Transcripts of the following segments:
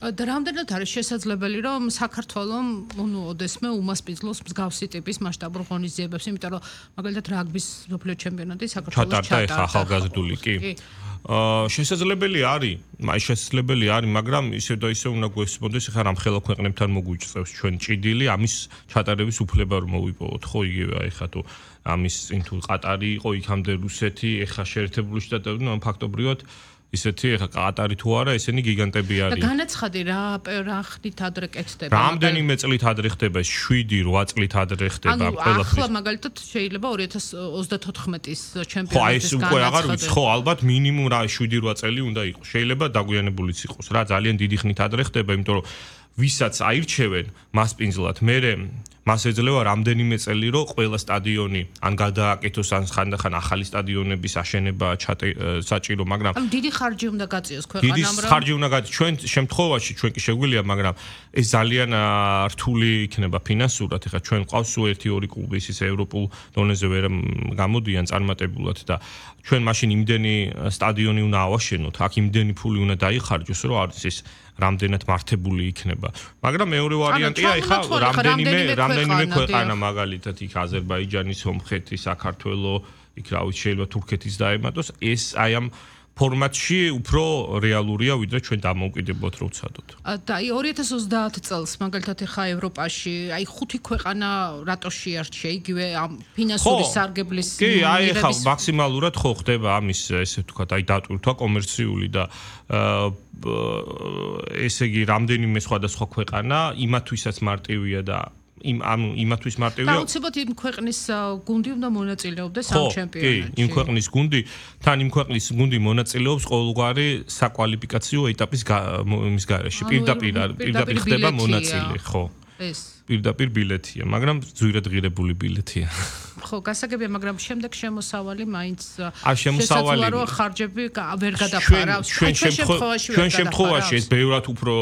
და რამდენად არის შესაძლებელი, რომ საქართველოს ოდესმე უმასპინძლოს მსგავსი ტიპის მასშტაბურ ღონისძიებებს, იმიტომ რომ მაგალითად რაგბის მსოფლიო ჩემპიონატი საქართველოს ჩატარდა ახალგაზრდული კი. შესაძლებელი არის, მაგრამ ისე და ისე უნდა გვესწრებოდეს, ხა რამხელა ქვეყნებთან მოგვიწევს ჩვენ ჭიდილი, ამის ჩატარების უფლება რომ მოვიპოვოთ, ხო იგივე აი ხა თუ ამის წინ თუ ყატარი იყო, იქამდე რუსეთი, ეხა შეერთებული შტატები, ნუ ფაქტობრივად ისეთი ეხა ყატარი თუ არა, ესენი გიგანტები არის. და განაცხადი რა ხდით ადრე კეთდება. რამდენიმე წლით ადრე ხდება, 7-8 წლით ადრე ხდება ყველაფერი. ახლა მაგალითად შეიძლება 2034-ის ჩემპიონატის განაცხადი. ხო, ეს უკვე აღარ ვიცი, ხო, ალბათ მინიმუმ რა 7-8 წელი უნდა იყოს. შეიძლება დაგვიანებულიც იყოს რა, ძალიან დიდი ხნით ადრე ხდება, იმიტომ რომ ვისაც აირჩევენ მასპინძლად, მას ეძლევა რამდენიმე წელი, რომ ყველა სტადიონი ან გადააკეთოს, ან ხანდახან ახალი სტადიონების აშენება საჭირო, მაგრამ დიდი ხარჯი უნდა გაწიოს ქვეყანამ, დიდი ხარჯი უნდა გაწიოს. ჩვენ შემთხვევაში ჩვენ კი შეგვიძლია, მაგრამ ეს ძალიან რთული იქნება ფინანსურად. ეხლა ჩვენ ყავს 1-2 კლუბი, ის ევროპულ დონეზე ვერ გამოდიან წარმატებულად და ჩვენ მაშინ იმდენი სტადიონი უნდა ავაშენოთ, აქ იმდენი ფული უნდა დაიხარჯოს, რომ არის ეს რამდენად მართებული იქნება. მაგრამ მეორე ვარიანტია, ეხლა რამდენიმე ქვეყანა მაგალითად იქ აზერბაიჯანი, სომხეთი, საქართველო, იქ რა ვიცი შეიძლება თურქეთის დაემატოს, ეს აი ამ ფორმატში უფრო რეალურია, ვიდრე ჩვენ დამოუკიდებლად რო ვცადოთ. და აი 2030 წელს მაგალითად ეხა ევროპაში, აი 5 ქვეყანა რატო შეარჩია იგივე ამ ფინანსური სარგებლის კი, აი ეხა მაქსიმალურად ხო ხდება ამის ესე ვთქვათ, აი დატვირთვა კომერციული და ესე იგი რამდენიმე სხვადასხვა ქვეყანა იმათვისაც მარტივია და იმათვის მარტივია. აუცილებლად იმ ქვეყნის გუნდი უნდა მონაწილეობდეს ამ ჩემპიონატში. კი, იმ ქვეყნის გუნდი, თან იმ ქვეყნის გუნდი მონაწილეობს ყოველგვარი საკვალიფიკაციო ეტაპის მის გარეშე. პირდაპირ ხდება მონაწილე, ხო. ეს პირდაპირ ბილეთია, მაგრამ ძვირადღირებული ბილეთია. ხო, გასაგებია, მაგრამ შემდეგ შემოსავალი მაინც შესაძლოა რომ ხარჯები ვერ გადაფარავს. ჩვენ შემთხვევაში ეს ბევრად უფრო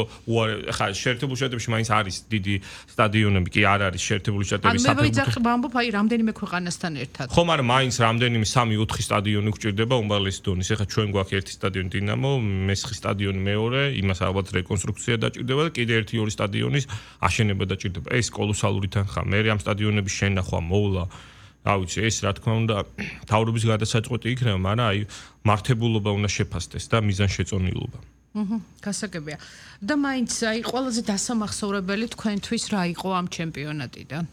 ხა შეერთებულ შტატებში მაინც არის დიდი სტადიონები, კი არ არის შეერთებული შტატების საფეხბურთო. ამბობ აი რამდენიმე ქვეყანასთან ერთად. ხო, მაგრამ მაინც რამდენიმე 3-4 სტადიონი გვჭირდება უმაღლესი დონის. ეხლა ჩვენ გვაქვს ერთი სტადიონი დინამო, მესხი სტადიონი მეორე, იმას ალბათ რეკონსტრუქცია დაჭირდება და კიდე 1-2 სტადიონის აშენება დაჭირდება. ეს კოლოსალური თანხა. მე ამ სტადიონების შენახვა, მოვლა რა ვიცი, ეს რა თქმა უნდა თავრობის გადასაწყვეტი იქნება, მაგრამ აი მართებულობა უნდა შეფასდეს და მიზანშეწონილობა. გასაგებია. და მაინც აი ყველაზე დასამახსოვრებელი თქვენთვის რა იყო ამ ჩემპიონატიდან?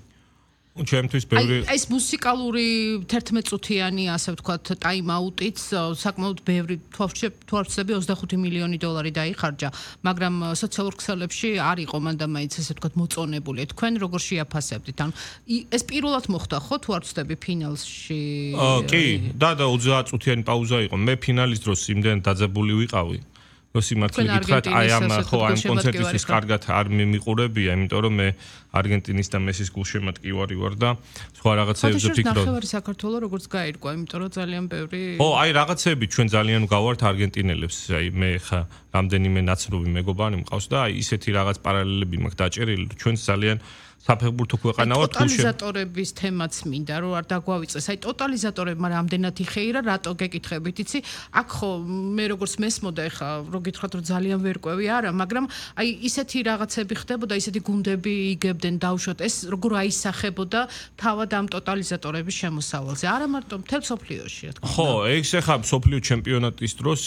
ჩემთვის ბევრი ეს მუსიკალური 11 წუთიანი, ასე ვთქვათ, ტაიმ-აუტიც საკმაოდ ბევრი თვალსწრები 25 მილიონი დოლარი დაიხარჯა, მაგრამ სოციალურ ქსელებში არ იყო მანდა მაინც ასე ვთქვათ მოწონებული. თქვენ როგორ შეაფასებდით? ანუ ეს პირველად მოხდა ხო თუ არ ვცდები ფინალში? კი, და 30 წუთიანი პაუზა იყო. მე ფინალის დროს იმდენ დაძაბული ვიყავი. სიმართლე გითხრათ, აი ამ კონცერტისთვის კარგად არ მიმიყურებია, იმიტომ რომ მე არგენტინის და მესის გულშემატკივარი ვარ და სხვა რაღაცეებზე ვფიქრობ. ნახევარი საქართველოს როგორც გაირკვა, იმიტომ რომ ძალიან ბევრი ხო, აი რაღაცეები ჩვენ ძალიან გავართ არგენტინელებს, აი მე ხა რამდენიმე ნაცნობი მეგობარი მყავს და აი ისეთი რაღაც პარალელები მაქვს დაჭერილი, ჩვენ ძალიან საფეხბურთო ქვეყანა ვართ. ტოტალიზატორების თემაც მინდა რომ არ დაგვავიწყეს. აი ტოტალიზატორებმა რამდენად იხეირა, რატო გეკითხებით, იცი? აქ ხო მე როგორც მესმოდა ეხა რო გითხრათ რომ ძალიან ვერ ყვევი არა, მაგრამ აი ისეთი რაღაცები ხდებოდა, ისეთი გუნდები იგებდნენ დავუშვათ, ეს როგორ აისახებოდა თავად ამ ტოტალიზატორების შემოსავალზე. არა მარტო მთელ სოფლიოში, რა თქმა უნდა. ხო, ეს ეხა სოფლიო ჩემპიონატის დროს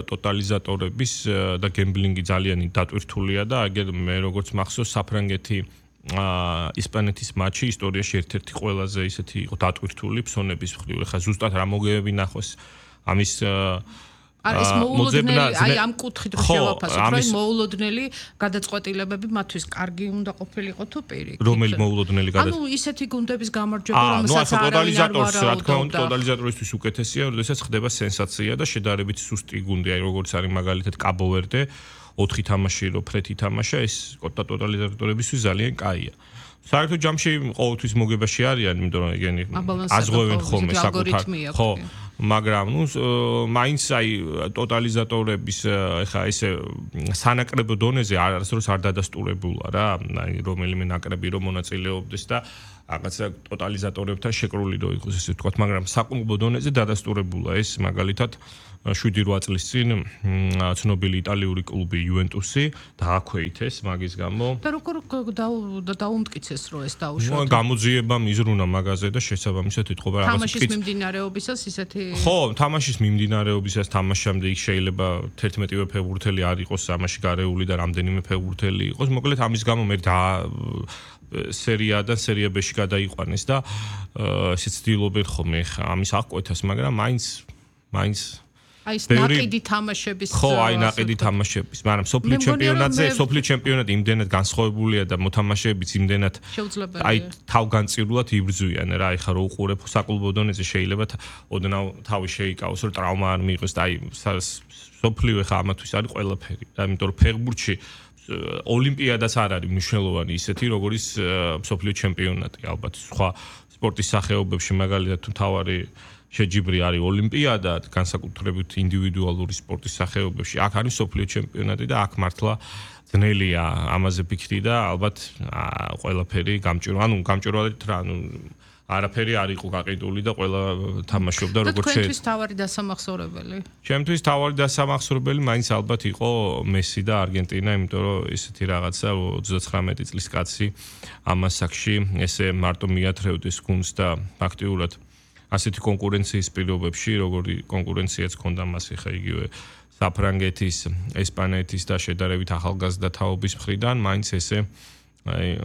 ტოტალიზატორების და გემბლინგი ძალიან დატვირთულია და აგერ მე როგორც მახსოვს საფრანგეთი ისპანეთის მატჩი ისტორიაში ერთ-ერთი ყველაზე ისეთი იყო დატვირთული ფსონების მხრივ. ეხლა ზუსტად რა მოგებები ნახოს ამის არის მოულოდნელი, აი ამ კუთხით რო შევაფასოთ, რომ მოულოდნელი გადაწყვეტილებები მათთვის კარგი უნდა ყოფილიყო თუ პირიქით. რომელი მოულოდნელი ანუ ისეთი გუნდების გამარჯვება, რომელსაც ტოტალიზატორს რა თქმა უნდა ტოტალიზატორისთვის უკეთესია, როდესაც ხდება სენსაცია და შედარებით სუსტი გუნდი, აი როგორც არის მაგალითად კაბო-ვერდე 4 თამაში რო ფრეთი თამაშა, ეს ტოტალიზატორებისთვის ძალიან კაია. საერთოდ ჯამში ყოველთვის მოგებაში არიან, იმიტომ რომ ეგენი აზღვევენ ხოლმე საკუთარ ხო, მაგრამ ნუ მაინც აი ტოტალიზატორების ეხა ესე სანაკრებო დონეზე არასდროს არ დადასტურებულა რა, აი რომელიმე ნაკრები რომ მონაწილეობდეს და რაღაცა ტოტალიზატორებთან შეკრული რო იყოს ესე ვთქვათ, მაგრამ საკლუბო დონეზე დადასტურებულა ეს მაგალითად 7-8 წლის წინ ცნობილი იტალიური კლუბი იუვენტუსი დააქვეითეს მაგის გამო. და როგორ დაუმტკიცეს რომ ეს დაუშვათ? გამოძიება მიზრუნა მაგაზე და შესაბამისად ეთყობა რაღაც თამაშის მიმდინარეობისას ისეთი ხო, თამაშის მიმდინარეობისას თამაშამდე იქ შეიძლება 11-ვე ფეხბურთელი არ იყოს ამაში გარეული და რამდენიმე ფეხბურთელი იყოს. მოკლედ ამის გამო მე სერია და სერია B-ში გადაიყვანეს და ესეც ცდილობენ ხოლმე ამის აღკვეთას, მაგრამ მაინც აი ეს ნაყიდი თამაშების ხო, აი ნაყიდი თამაშების, მაგრამ სოფლიო ჩემპიონატზე, სოფლიო ჩემპიონატი იმდენად განსხვავებულია და მოთამაშეებიც იმდენად აი თავგანწირულად იბრძვიან რა, ეხლა რო უყურებ საკლუბო დონეზე შეიძლება ოდნავ თავი შეიკავოს, რომ ტრავმა არ მიიღოს და აი სოფლიო ეხლა ამათვის არის ყველაფერი. ამიტომ რომ ფეხბურთში ოლიმპიადაც არ არის მნიშვნელოვანი ისეთი, როგორც სოფლიო ჩემპიონატი, ალბათ სხვა სპორტის სახეობებში მაგალითად თუ თავარი შეჯიბრი არის ოლიმპიადა, განსაკუთრებით ინდივიდუალური სპორტის სახეობებში. აქ არის სოფლიო ჩემპიონატი და აქ მართლა ძნელია ამაზე ფიქრი და ალბათ ყველაფერი გამჭვირვალედ რა, არაფერი არ იყო გაყიდული და ყველა თამაშობდა როგორც შეიძლება. თქვენთვის თავარი დასამახსოვრებელი? ჩემთვის თავარი დასამახსოვრებელი მაინც ალბათ იყო მესი და არგენტინა, იმიტომ რომ ესეთი რაღაცა 39 წლის კაცი ამ ასაკში ესე მარტო მიათრევდეს გუნდს და ფაქტიურად ასეთი კონკურენციის პირობებში, როგორი კონკურენციაც ჰქონდა მას ხა იგივე საფრანგეთის, ესპანეთის და შედარებით ახალგაზრდა თაობის მხრიდან, მაინც ესე აი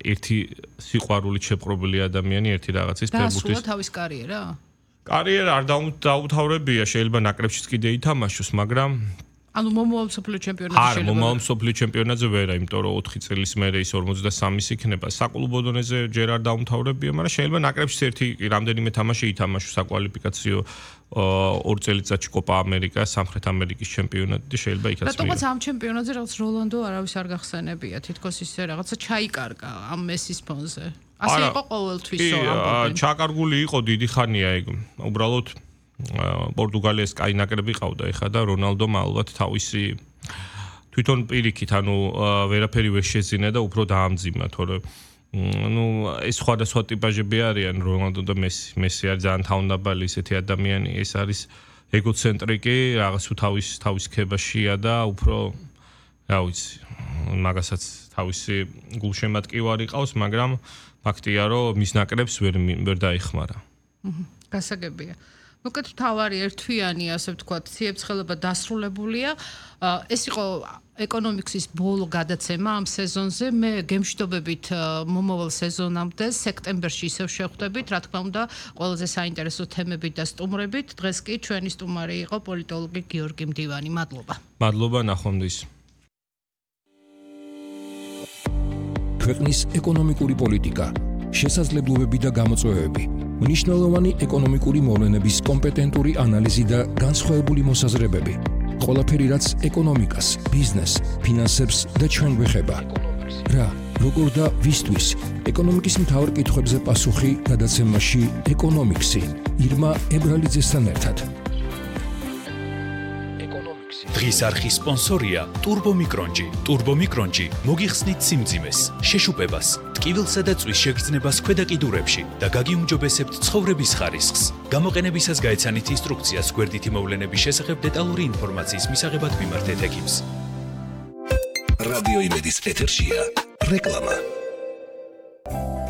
ერთი სიყვარულით შეპყრობილი ადამიანი ერთი რაღაცის ფეხბურთის და თავის კარიერა? კარიერა არ დაუთავრებია, შეიძლება ნაკრებშიც კიდე ითამაშოს, მაგრამ ანუ მომავალ სოფლიო ჩემპიონატზე შეიძლება. არა, მომავალ სოფლიო ჩემპიონატზე ვერა, იმიტომ რომ 4 წლის მერე ის 53 იქნება. საკლუბო დონეზე ჯერ არ დაუმთავრებია, მაგრამ შეიძლება ნაკრებშიც ერთი რამდენიმე თამაში ითამაშოს საკვალიფიკაციო 2 წელიწადში კოპა ამერიკა, სამხრეთ ამერიკის ჩემპიონატი და შეიძლება იქაც მიიღოს. რატომაც ამ ჩემპიონატზე რაღაც როლანდო არავის არ გახსენებია, თითქოს ისე რაღაცა ჩაიკარგა ამ მესის ფონზე. ასე იყო ყოველთვის ამბობენ. ჩაკარგული იყო დიდი ხანია ეგ. უბრალოდ პორტუგალიას კაი ნაკრები ყავდა ეხა და რონალდომ ალბათ თავისი თვითონ პირიქით, ანუ ვერაფერი ვერ შეძინა და უფრო დაამძიმა, თორე ეს სხვადასხვა ტიპაჟები არიან, რონალდო და მესი. მესი არის ძალიან თავდაბალი ისეთი ადამიანი, ეს არის ეგოცენტრიკი, რაღაც თავის ქებაშია და უფრო რა ვიცი, მაგასაც თავისი გულშემატკივარი ყავს, მაგრამ ფაქტია, რომ მის ნაკრებს ვერ დაიხმარა. გასაგებია. მოკლედ თავარი ერთვიანი, ასე ვთქვათ, ციებ-ცხელება დასრულებულია. ეს იყო ეკონომიკსის ბოლო გადაცემა ამ სეზონზე. მე გემშვიდობებით მომავალ სეზონამდე სექტემბერში ისევ შევხვდებით, რა თქმა უნდა, ყველაზე საინტერესო თემებით და სტუმრებით. დღეს კი ჩვენი სტუმარი იყო პოლიტოლოგი გიორგი მდივანი. მადლობა. მადლობა, ნახვამდის. ქვეყნის ეკონომიკური პოლიტიკა, შესაძლებლობები და გამოწვევები, მნიშვნელოვანი ეკონომიკური მოვლენების კომპეტენტური ანალიზი და განსხვავებული მოსაზრებები. ყველაფერი, რაც ეკონომიკას, ბიზნესს, ფინანსებს და ჩვენ გვეხება. რა, როგორ და ვისთვის? ეკონომიკის მთავარ კითხვებზე პასუხი გადაცემაში ეკონომიქსი. ირმა ებრალიძესთან ერთად. დღის არხის სპონსორია ტურბომიკრონჯი. ტურბომიკრონჯი მოგიხსნით სიმძიმეს, შეშუპებას, ტკივილსა და წვის შეგრძნებას ქვედა კიდურებში და გაგიუმჯობესებთ ცხოვრების ხარისხს. გამოყენებისას გაეცანით ინსტრუქციას გვერდითი მოვლენების შესახებ დეტალური ინფორმაციის მისაღებად მიმართეთ ექიმს. რადიო იმედის ეთერშია რეკლამა.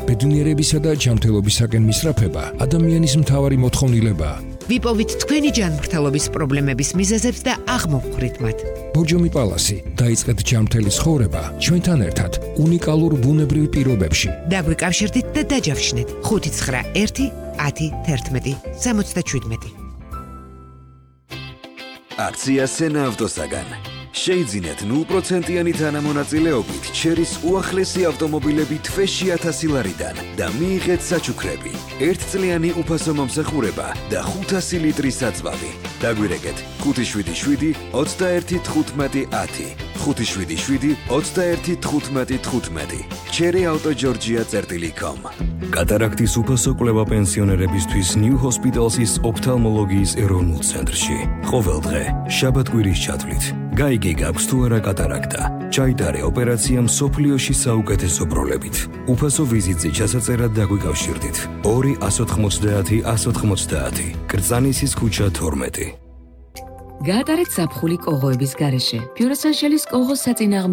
ბედნიერებისა და ჯანმრთელობისაკენ მისწრაფება ადამიანის მთავარი მოთხოვნილებაა. ვიპოვით თქვენი ჯანმრთელობის პრობლემების მიზეზებს და აღმოვხვრით მათ. ბორჯომი პალასი, დაიწყეთ ჯანმრთელი ცხოვრება ჩვენთან ერთად უნიკალურ ბუნებრივ პირობებში. დაგვიკავშირდით და დაჯავშნეთ 591 10 11 77. აქცია სენა ავტოსაგან. შეიძინეთ 0%-იანი თანამონაწილეობით ჩერის უახლესი ავტომობილები თვეში 1000 ლარიდან და მიიღეთ საჩუქრები, 1 წლიანი უფასო მომსახურება და 500 ლიტრი საწვავი. დაგვირეკეთ 577 21 15 10 577 21 15 15 cherryauto.georgia.com. კატარაქტის უფასო კვლევა პენსიონერებისთვის New Hospital's ოფთალმოლოგიის ეროვნულ ცენტრში. ყოველ დღე შაბათ-კვირის ჩათვლით გაიგე გაქვს თუ არა კატარაქტა. ჩაიტარე ოპერაცია მსოფლიოში საუკეთესო ბროლებით. უფასო ვიზიტზე ჩასაწერად დაგვიკავშირდით. 2 190 190 კრწანისის ქუჩა 12. გაატარეთ ზაფხული კოღოების გარეშე. Pure Essentials კოღოს საწინააღმდეგო